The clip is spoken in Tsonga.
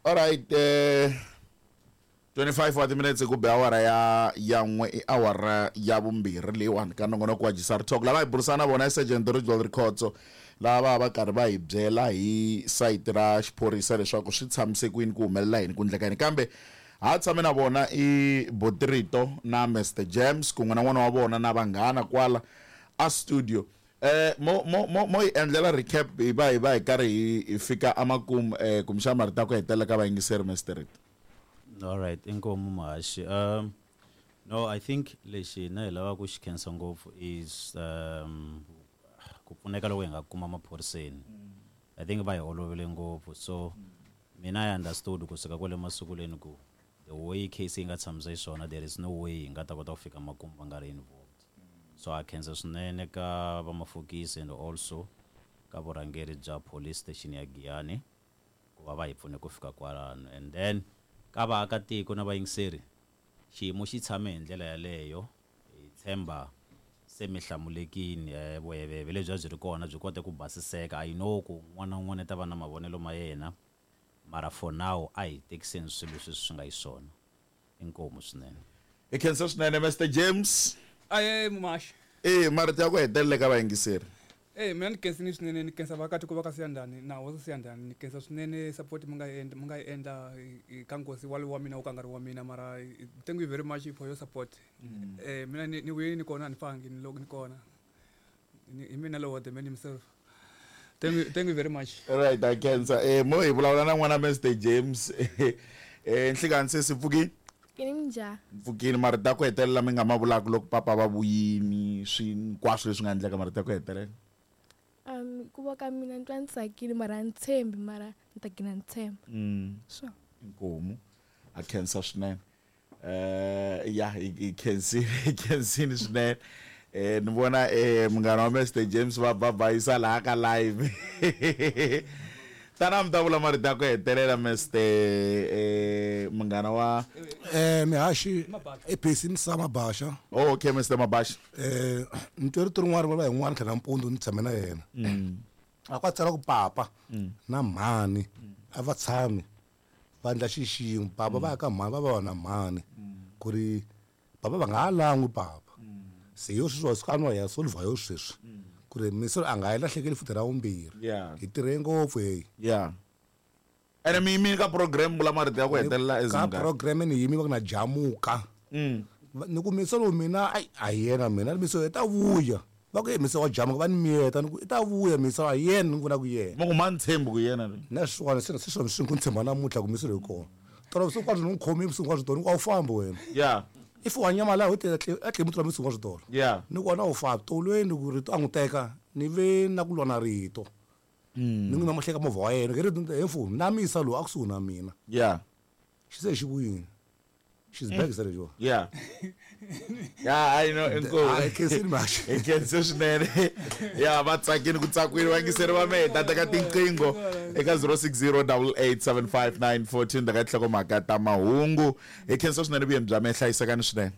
Alright, 25 wa timinetse ku be awara ya n'we, i awara ya vumbirhi leyiwani ka nongonoko wa Jisar Talk. Lava hi burisana na vona i Sergeant Ridgewell Rikhotso, lava va karhi va hi byela hi sayiti ra xiphorisa leswaku swi tshamise kwini, ku humelela yini, ku ndleka yini. Kambe ha tshame na vona i Botirito na Mr James kun'we na n'wana wa vona na vanghana kwala a studio. Mo hi endlela recap hi va hi karhi hi fika amakumu, kumbexana marito ya ku hetelela ka vayingiseri, Mr Rito. All right, inkomu muhaxi. No, I think lexi hina hi lavaka ku xi khensa ngopfu is ku pfuneka loko hi nga kuma maphoriseni. I think va hi olovele ngopfu. So mina I understood kusuka kwale masunguleni ku the way case yi nga tshamisa xiswona, there is no way hi nga ta kota ku fika makumu va nga ri involved. So a khensa swinene ka vamafokisi and also ka vurhangeri bya police station ya Giyani ku va va hi pfune ku fika kwalano. And then ka vaakatiko na vayingiseri, xiyimo xi tshame hi ndlela yaleyo. Hi tshemba se mi hlamulekini, vuheveve lebyi a byi ri kona byi kote ku basiseka. I know ku un'wana na un'wana i ta va na mavonelo ma yena, mara for now a hi tekiseni swilo leswi swi nga xiswona. Inkomu swinene. Hi khensa swinene, Mr James. Aye, mumaxi. E marito ya ku hetelela ka vayingiseri. Mina ni khensini swinene, ni khensa vaakatiko va ka Siyandhani na hosi Siyandhani. Ni khensa swinene support mi nga yi endla, mi nga yi endla ka nkosi walowo wa mina wo ka nga ri wa mina, mara thank you very much for your support. Mina ni vuyeni, ni kona, a ni fangi, ni loko ni kona. Hi mina lowo, the man himself. Thank you, thank you very much. Right, a khensa. Mo hi vulavula na n'wana Mr James. Nhlikani sesi, pfukini? Kini, minjhani? Pfukini. Marito ya ku hetelela mi nga ma vulaka loko papa va vuyini, swi hinkwaswo leswi nga endleka, marito ya ku hetelela. Ku va ka mina ni twa ni tsakile, mara a ni tshembi, mara ni ta gina ni tshemba. Sure. Inkomu, a khensa swinene. Ya, hi khensini, hi khensini swinene. Ni vona munghana wa Mr James va babayisa laha ka live. Tana mi ta vula marito ya ku hetelela, Mr munghana wa Mihaxi, i Phesi Msa Mabasha. Oh, okay, Mr Mabasha. Ni twe rito rin'wana ri vulavula hi n'wana tlhela nampundzu ni tshame na yena. A ku tsala ku papa na mhani a va tshami va endla xi xin'we, papa va ya ka mhani, va va na mhani, ku ri papa va nga ha lan'wi papa. Se yo sweswi wa a nwa ya solver yo sweswi ku ri misolo a nga yi lahlekeli futhi ra vumbirhi. Hi tirhe ngopfu heyi. Yeah, ene mi yimile ka program, vula marito ya ku hetelela as ka munghana. Program ni yimi va ku na jamuka. Ni ku misolo mina ai a hi yena, mina miso i ta vuya. Va ku miso wa jamuka, va ni miyeta, ni ku i ta vuya miso, a hi yena, ni vona ku yena. Mi ku ma ni tshembi ku yena. Na swona se swona swi ku ni tshemba namuntlha ku miso leyi kona. Tolo vusiku hinkwabyo ni n'wi khomile, vusiku hinkwabyo tolo ni ku a wu fambi wena. If wa nyamala ho te a tlhe muti vusiku hinkwabyo tolo. Ni ku wena a wu fambi tolweni ku rito a n'wi teka, ni ve na ku lwa na rito. Ni n'wi mahleka movha wa yena ke rito he mfo na misa lowu a kusuhi na mina. Xi se xi vuyini. She's back, sir. Yeah, I know. Inkomu. Hayi, khensini mhaxi. Hi khense swinene. Ya va tsakini ku tsakwini vayingiseri va mehe, ta teka tinqingho eka 060 8875914 ta ka tinhlokomhaka ta mahungu. Hi khensa swinene vuyeni bya mehe, hlayisekani swinene.